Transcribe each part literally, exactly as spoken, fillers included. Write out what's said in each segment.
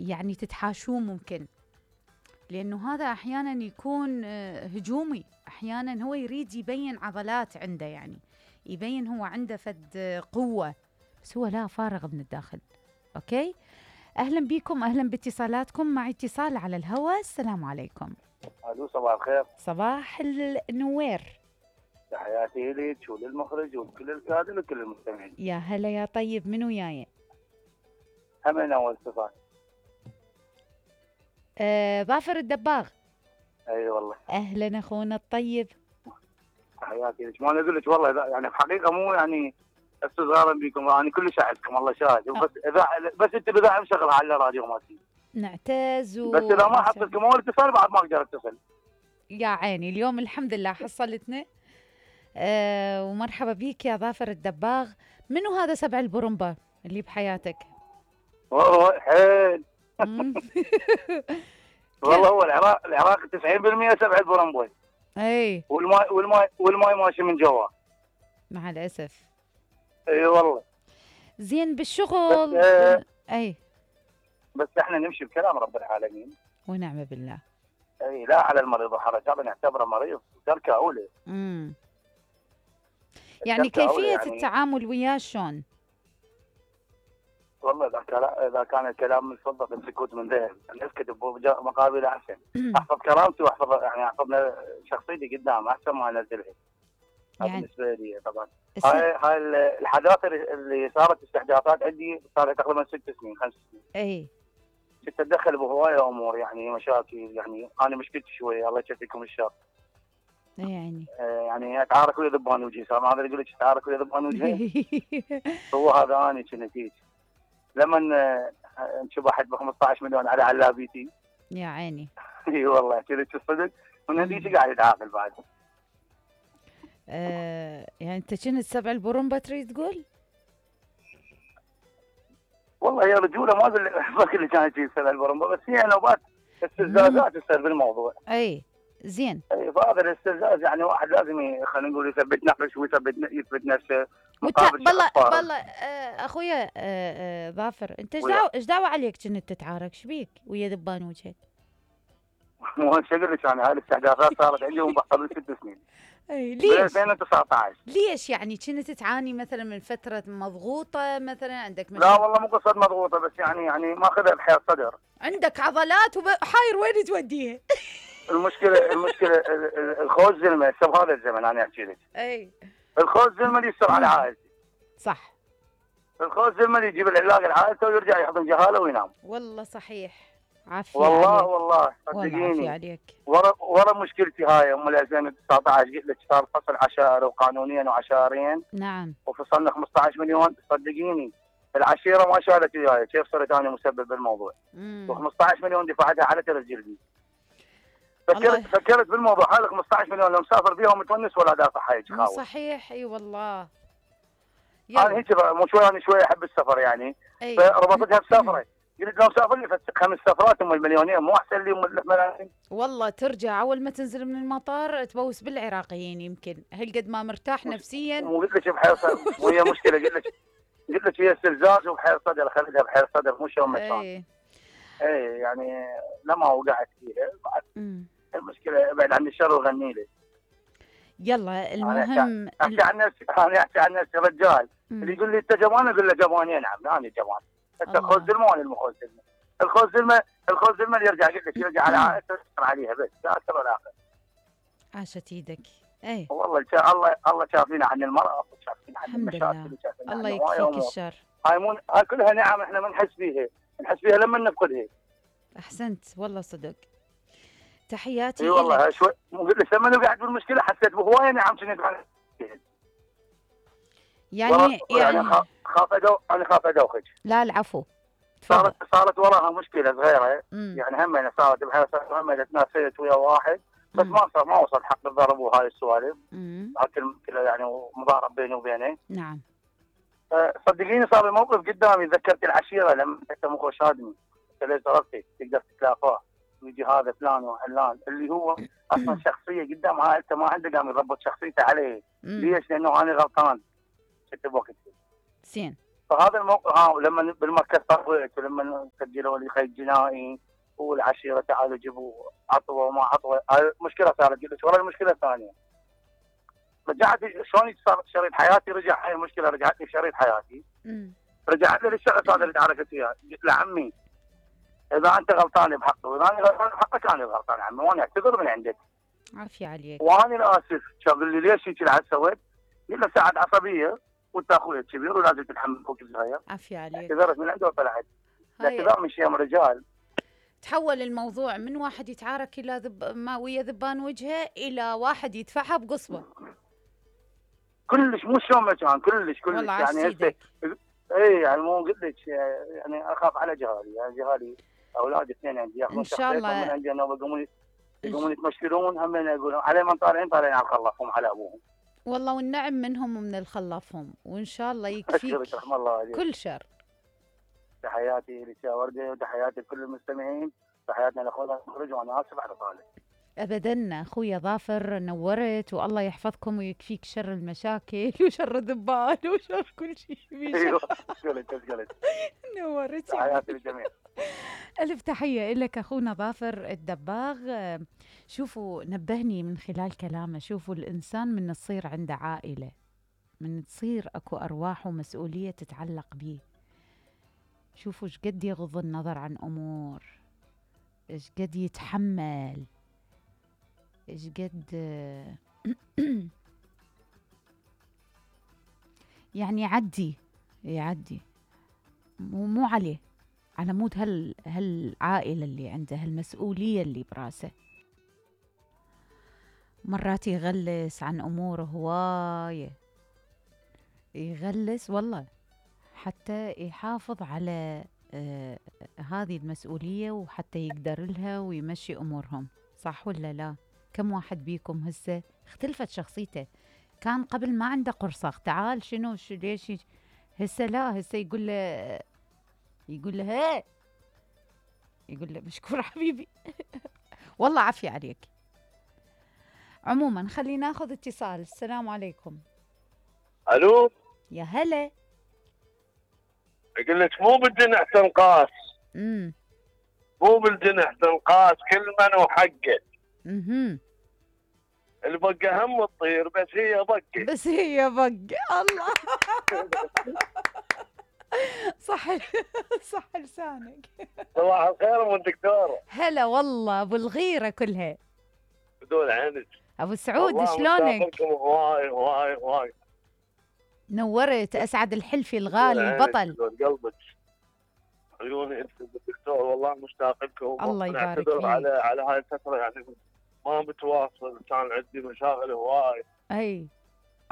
يعني تتحاشوه ممكن، لأنه هذا أحيانا يكون هجومي، أحيانا هو يريد يبين عضلات عنده، يعني يبين هو عنده فد قوة، بس هو لا، فارغ من الداخل. أوكي، أهلا بكم، أهلا باتصالاتكم. مع اتصال على الهواء. السلام عليكم. الو، صباح الخير. صباح النوير. تحياتي لك وللمخرج ولكل الكادر وكل المستمعين. يا هلا يا طيب، منو وياي؟ همين اول صفات. آه، ظافر الدباغ. اي أيوة والله. اهلا اخونا الطيب. تحياتي لك. ما انا اقول لك والله، يعني بحقيقه مو يعني استظهارا بكم، انا يعني كل اعزكم الله شاهد، بس اذا بس انت اذا مشغل على الراديو مالتي نعتز و... بس اذا ما حصلتكم اول اتصال بعد ما اقدر اتصل. يا عيني، اليوم الحمد لله حصلتنا. أه ومرحبا بيك يا ظافر الدباغ. منو هذا سبع البرمبة اللي بحياتك؟ والله حيل. والله هو العراق العراق تسعين بالمئة سبع البرمبة. اي، والماي والماي والماي ماشي من جوا مع الاسف. اي والله. زين بالشغل. بس آه اي، بس احنا نمشي بكلام رب العالمين ونعم بالله. اي، لا على المريض حرج، هذا نعتبره مريض تركه اولى. امم يعني كيفية يعني التعامل وياه شلون؟ والله اذا اذا كان الكلام من فضه السكوت من ذهب، نسكت بمقابل احسن. احفظ كرامتي واحفظ يعني احفظ شخصيتي قدام احسن ما انزلها. يعني بالنسبه لي طبعا هاي هاي الحداثه اللي صارت استحداثات عندي صار تقريبا ست سنين خمس سنين. اي، كنت اتدخل بهوايه امور، يعني مشاكل، يعني انا مشكلتي شويه الله يكفيكم الشر. يعني آه يعني اتعارك ويا ذبان وجهي، صار هذا اللي يقول لك اتعارك ويا ذبان وجهي. هو هذا انا كنت هيك لما انشبحت ب خمسطعش مليون على علابيتي. يا عيني. اي والله كذا الصدق، من هذيك قاعد يتعاقل بعد. آه يعني انت كنت سبع البرمبة تريد تقول؟ والله يا رجوله ما اقول لك اللي كانت تجي سبع البرمبة، بس هي نوبات استفزازات تصير بالموضوع. اي زين. اي، فهذا الاستفزاز يعني واحد لازم خلينا نقول يثبت نفسه ويثبت يثبت نفسه مقابل بالله بالله. آه اخويا آه آه ظافر، انت ايش دعوه ايش دعوه عليك كنت تتعارك؟ ايش بيك ويا ذبان وجهك؟ مو ايش اقول لك، انا هاي الاستحداثات صارت عندي قبل ست سنين. اي ليش؟ ألفين وتسعطعش. ليش يعني كنت تعاني مثلا من فتره مضغوطه مثلا عندك مشكلة؟ لا والله مو قصه مضغوطه، بس يعني يعني ماخذها بحياة صدر. عندك عضلات وحاير وين توديها؟ المشكله المشكله الخوز زلمه شوف هذا الزمن انا احكي لك. اي، الخوز زلمه اللي يستر على عائلتي. صح. الخوز زلمه اللي يجيب العلاج لعائلته ويرجع يحضن جهاله وينام. والله صحيح. عافية والله عليك. والله صدقيني. عافية عليك. ورا ورا مشكلتي هاي ام ألفين وتسعطعش قلت لك صار فصل عشائري وقانونيا وعشائريا. نعم. وفصلنا خمسطعش مليون، صدقيني العشيره ما شالت وياي، كيف صرت انا مسبب بالموضوع؟ و15 مليون دفعتها على ترس جلدي. فكرت فكرت بالموضوع، هذا خمسطعش مليون لو مسافر بيهم متونس ولا دافع هاي خاوي. صحيح. اي والله. انا هيك مو شوي، انا شوي احب السفر يعني. فربطتها بسفره، قلت لو مسافر لي خمس سفرات ام المليونين مو احسن لي ام الملايين؟ والله ترجع اول ما تنزل من المطار تبوس بالعراقيين، يمكن هل قد ما مرتاح نفسيا. مو قلت لك بحير صدر وهي مشكله، قلت لك قلت لك هي استفزاز وبحير صدر، خليتها بحير صدر مو شلون ما كان. اي اي يعني لما وقعت فيها بعد المشكله ابعد عن الشر وغني لي. يلا المهم احكي عن نفسي، انا احكي عن نفسي رجال. مم. اللي يقول لي انت جبان اقول له جبان ينعم، انا جبان. انت خوز زلمه وانا المخوز زلمه. الخوز زلمه الخوز زلمه اللي يرجع قلت لك يرجع على عائلته عليها بس لا اكثر ولا اقل. عاشت ايدك. اي والله الله الله شافينا عن المرأة وشافينا عن المشاكل وشافينا الله يكفيك الشر. هاي مو هاي كلها نعم احنا ما نحس بيها، نحس بيها لما نفقدها. احسنت والله صدق. تحياتي. اي والله شوي قلت لك لما قاعد بالمشكله حسيت بهوايه نعم كنت يعني يعني خاف ادو انا خاف ادوخك. لا العفو. صارت صارت وراها مشكله صغيره. مم. يعني هم صارت بحيث هم تنافست ويا واحد بس مم. ما صار ما وصل حق الضرب وهاي السوالف. لكن يعني مضارب بيني وبينه. نعم. صدقيني صار الموقف قدامي، ذكرت العشيره لما انت مخو شادني قلت ليش ضربتي تقدر تتلافاه ويجي هذا فلان وعلان اللي هو اصلا شخصيه قدام عائلته ما عنده قام يضبط شخصيته عليه. ليش؟ لانه انا غلطان كنت بوقتي. زين. فهذا الموقف ها لما بالمركز طويت ولما سجلوا لي خيط جنائي والعشيره تعالوا جيبوا عطوه وما عطوه، هاي المشكله صارت. قلت ورا المشكله الثانيه رجعت شلون صار شريط حياتي، رجع هاي المشكله رجعت لي شريط حياتي. امم رجعت لي الشخص هذا اللي تعاركت وياه، قلت له عمي اذا انت غلطان بحقي واذا انا غلطان بحقك انا غلطان عمي وانا اعتذر من عندك. عافية عليك. وانا الاسف. شغل لي ليش هيك العب سويت؟ قلت له ساعد عصبيه وانت اخوي الكبير ولازم تتحمل اخوك الصغير. عافية عليك. اعتذرت من عنده وطلعت. هاي الاعتذار من شيم رجال. تحول الموضوع من واحد يتعارك الى ذب ما ويا ذبان وجهه الى واحد يدفعها بقصبه. كلش مو شلون ما كان كلش كلش والله يعني هسه عسيدك. اي يعني مو قلت لك يعني اخاف على جهالي، يعني جهالي اولاد اثنين عندي ياخذون إن شاء الله. شخصيتهم من عندي انا ويقومون إن يقومون يتمشكلون هم يقولون علي من طالعين طالعين على الخلاف هم على ابوهم. والله والنعم منهم ومن الخلافهم، وان شاء الله يكفيك اشكرك رحم الله عليك. كل شر. تحياتي لشا وردة وتحياتي لكل المستمعين، تحياتنا لاخونا المخرج وانا اسف على طالع. ابدا اخويا ظافر، نورت والله يحفظكم ويكفيك شر المشاكل وشر الذبان وشر كل شيء. ايوه قلت قلت نورت. تحياتي للجميع. ألف تحية لك أخونا ظافر الدباغ. شوفوا نبهني من خلال كلامه، شوفوا الإنسان من تصير عنده عائلة، من تصير أكو أرواح ومسؤولية تتعلق به، شوفوا إيش قد يغض النظر عن أمور، إيش قد يتحمل، إيش قد يعني يعدي يعدي مو مو عليه، على مود هال هالعائلة اللي عنده، هالمسؤولية اللي براسه. مرات يغلس عن أموره هواية، يغلس والله حتى يحافظ على آه هذه المسؤولية وحتى يقدر لها ويمشي أمورهم، صح ولا لا؟ كم واحد بيكم هسه اختلفت شخصيته، كان قبل ما عنده قرصاخ تعال شنو شو ليش، هسه لا، هسه يقول له يقول له هي يقول له مشكور حبيبي. والله عافية عليك. عموما خلينا ناخذ اتصال. السلام عليكم. الو يا هلا. اقول لك مو بالجنح تنقاس، امم مو بالجنح تنقاس، كل من وحقه. اها البقه هم تطير بس هي بقه. بس هي بق. الله. صح صح لسانك. صباح الخير ام الدكتور. هلا والله ابو الغيره كلها. بدون عينك ابو سعود شلونك؟ هواي هواي هواي. نورت. اسعد الحلفي الغالي البطل. قلبك عيوني انت الدكتور، والله مشتاق لكم. الله يبارك فيك. على على هاي الفتره يعني ما متواصل، كان عندي مشاغل هواي. اي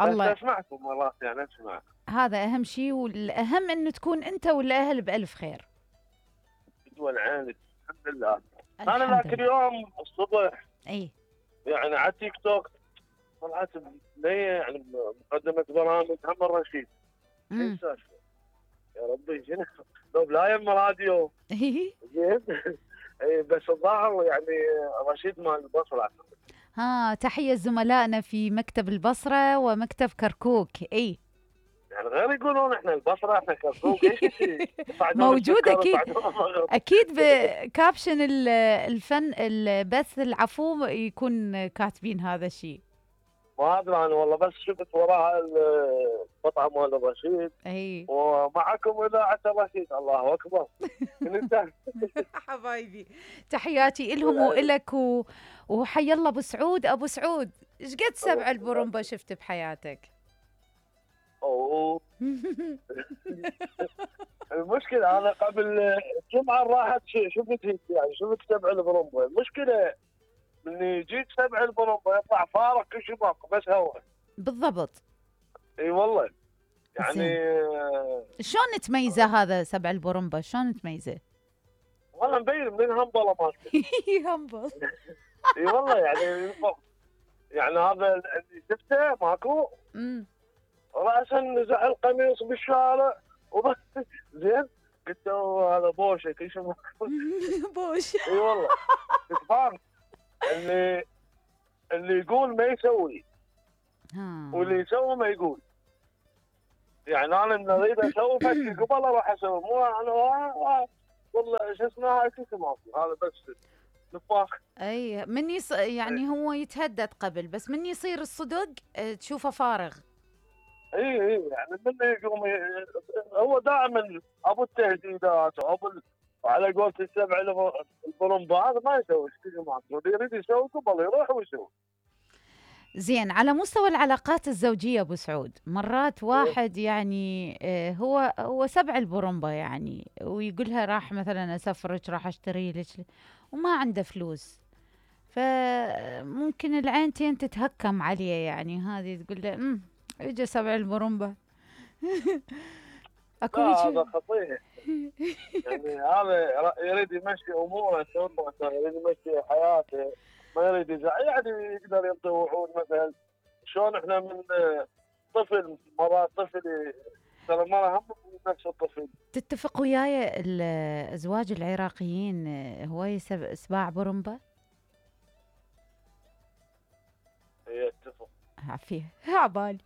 الله. بس اسمعكم مرات يعني اسمع. هذا اهم شيء، والاهم انه تكون انت والاهل بالف خير. بدون عينك الحمد لله. انا ذاك اليوم الصبح اي يعني على تيك توك طلعت لي يعني مقدمه برامج هم الرشيد. امم يا ربي شنو لو لا يم راديو. زين. اي بس الظاهر يعني رشيد مال البصره. ها تحيه زملائنا في مكتب البصره ومكتب كركوك. اي يعني غير يقولون احنا البصره احنا كركوك ايش موجود اكيد اكيد بكابشن الفن البث العفو يكون كاتبين هذا الشيء. ما ادري انا والله، بس شفت وراها القطعه مال الرشيد. اي ومعكم اذاعه الرشيد. الله اكبر. حبايبي تحياتي لهم والك و... وحي الله ابو سعود. ابو سعود ايش قد سبع البرمبه شفت بحياتك؟ اوه المشكله انا قبل الجمعه راحت شفت هيك يعني شفت سبع البرمبه. المشكله اني جيت سبع البرمبه يطلع فارق كل شيء باقي بس هواء. بالضبط. اي والله يعني شلون تميزه هذا سبع البرمبه؟ شلون تميزه؟ والله مبين من همبله مالته. همبل. اي والله يعني يعني هذا اللي شفته ماكو. امم راسا نزع القميص بالشارع زين قلت له هذا بوشه كل شيء. بوش. اي والله تفهم اللي اللي يقول ما يسوي. ها واللي يسوي ما يقول. يعني انا من اريد اسوي فشي قبل اروح اسوي، مو انا والله شو اسمه هاي كل ما في هذا بس نفاخ. اي من يص... يعني هو يتهدد قبل، بس من يصير الصدق آه، تشوفه فارغ. اي اي يعني من يقوم ي- هو دائما ابو التهديدات وابو ال- وعلى قولة السبع الب- البرمبة هذا ما يسوي شيء، ما اللي يريد يسوي قبل يروح ويسوي. زين، على مستوى العلاقات الزوجية ابو سعود، مرات واحد يعني آه، هو هو سبع البرمبة يعني، ويقولها راح مثلا اسفرك، راح اشتري لك، وما عنده فلوس، فممكن العينتين تتهكم عليه، يعني هذه تقول له امم اجى سبع البرمبة. اكو لا هيك. هذا خطير. يعني هذا ر- يريد يمشي اموره، سلطته، يريد يمشي حياته، ما يريد يزعل، يعني يقدر يعطي وعود مثلا. شلون احنا من طفل مرات طفل ي- ترى المرأة هم نفس الطفل. تتفق وياي الازواج العراقيين آه، هواي سب- سباع برمبة؟ هي اتفق عافية عبالي.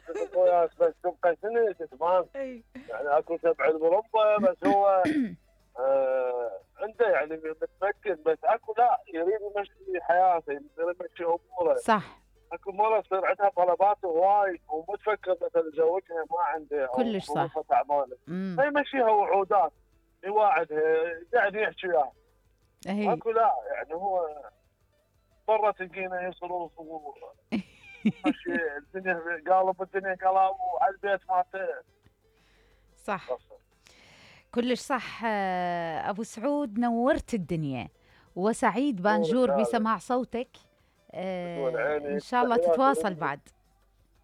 اتفق وياك، بس تبقى سنة تتفاهم. أي. يعني اكو سبع البرمبة بس هو آه عنده يعني متمكن، بس اكو لا يريد يمشي حياته، يريد يمشي اموره. صح، اكو مرة تصير عندها طلبات هواي ومو تفكر مثلا زوجها ما عنده او كلش صح. ظروفها تعبانه، امم فيمشيها وعودات، يواعدها، قاعد يحكي وياها. هي اكو لا يعني هو برا تلقينا يصرف ومشي الدنيا، قالب الدنيا قلب، وعلى البيت مالته صح، قصر. كلش صح. آه، ابو سعود نورت الدنيا، وسعيد نورك بانجور هذا. بسماع صوتك. نور آه، ان عيني. شاء الله تحياتي تتواصل لك. بعد.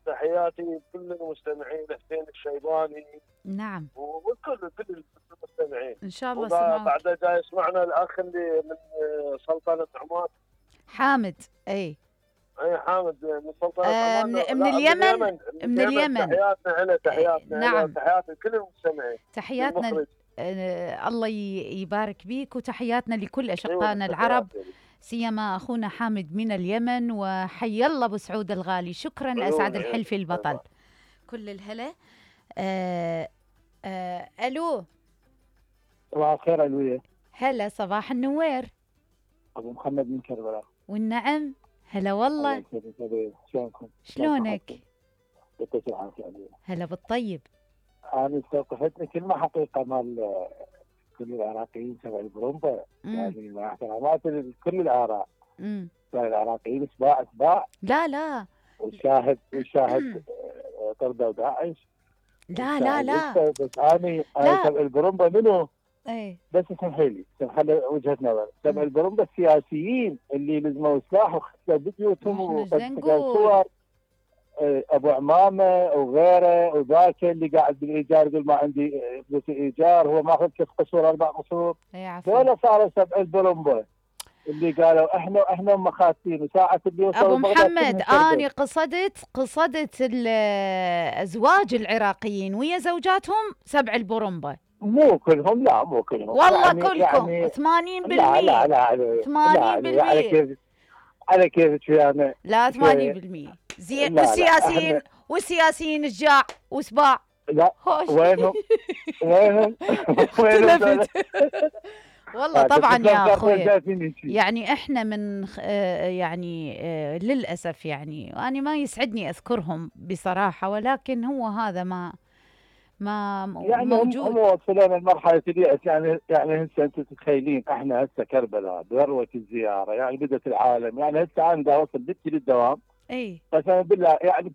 تحياتي لكل المستمعين، حسين الشيباني نعم، وكل كل المستمعين. ان شاء الله وبعد سمعوك. بعد جاي يسمعنا الاخ اللي من سلطنه عمان، حامد. اي اي حامد من سلطنه آه، عمان. من, لا، من اليمن. من اليمن. تحياتنا له، تحياتنا له، نعم، تحياتنا لكل المستمعين. تحياتنا. المخرج. آه، الله ي- يبارك بيك، وتحياتنا لكل اشقائنا أيوة، العرب، تحياتي. سيما اخونا حامد من اليمن. وحي الله ابو سعود الغالي، شكرا، عيون اسعد عيون. الحلف البطل. أيوة. كل الهلا. آه آه الو، صباح الخير علوية. هلا، صباح النوير أبو محمد من كربلاء. والنعم، هلا والله. الله يسعدك أبوي. شلونكم؟ شلونك؟ يعطيك العافية علوية. هلا بالطيب. أنا استوقفتني كلمة حقيقة مال كل العراقيين سبع البرومبا، مم. يعني مع احترامات كل الآراء، مم. العراقيين سباع سباع، لا لا والشاهد والشاهد آه، طردوا داعش. لا لا لا بس أنا لا. أنا سبع البرومبا منو؟ ايه بس اسمحي لي، اسمحي لي وجهة نظر. سبع مم. البرومبا السياسيين اللي لزموا سلاح وختلوا بيوتهم إحنا إيش وقد نقول؟ صور ابو عمامه وغيره، وذاك اللي قاعد بالايجار يقول ما عندي فلوس ايجار، هو ماخذ كيف قصور اربع قصور. ايه عفوا. دول صاروا سبع البرمبه اللي قالوا احنا احنا مخاتين، وساعه اللي وصلوا ابو بغداد محمد، كلهم اني شردوا. قصدت قصدت الازواج العراقيين ويا زوجاتهم سبع البرمبه. مو كلهم، لا مو كلهم والله يعني كلكم يعني ثمانين لا لا بالمية. لا على ثمانين بالمية. على كيف على كيف شويه. لا ثمانين بالمية زين. لا، لا، والسياسيين إحنا- والسياسيين الجاع وسباع. لا هوش. وينهم وينهم وينهم دول؟ اختلفت. والله طبعا يا اخوي، اخوي يعني احنا من خ- آه، يعني آه، للاسف يعني، وانا ما يسعدني اذكرهم بصراحه، ولكن هو هذا ما ما م- يعني هم هم موجود. وصلنا لمرحله اليأس. يعني يعني هسه انتم تتخيلين احنا هسه كربلاء بذروه الزياره، يعني بدت العالم، يعني هسه انا دا اوصل بنتي للدوام اي قسما بالله، يعني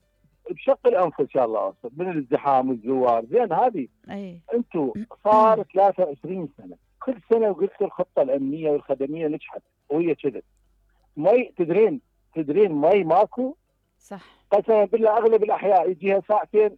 بشق الانف ان شاء الله اوصل من الازدحام والزوار. زين هذه اي انتم صار ثلاثة وعشرين سنه، كل سنه وقلت الخطه الامنيه والخدميه نجحت وهي كذا. مي تدرين تدرين مي ماكو صح. قسما بالله، اغلب الاحياء يجيها ساعتين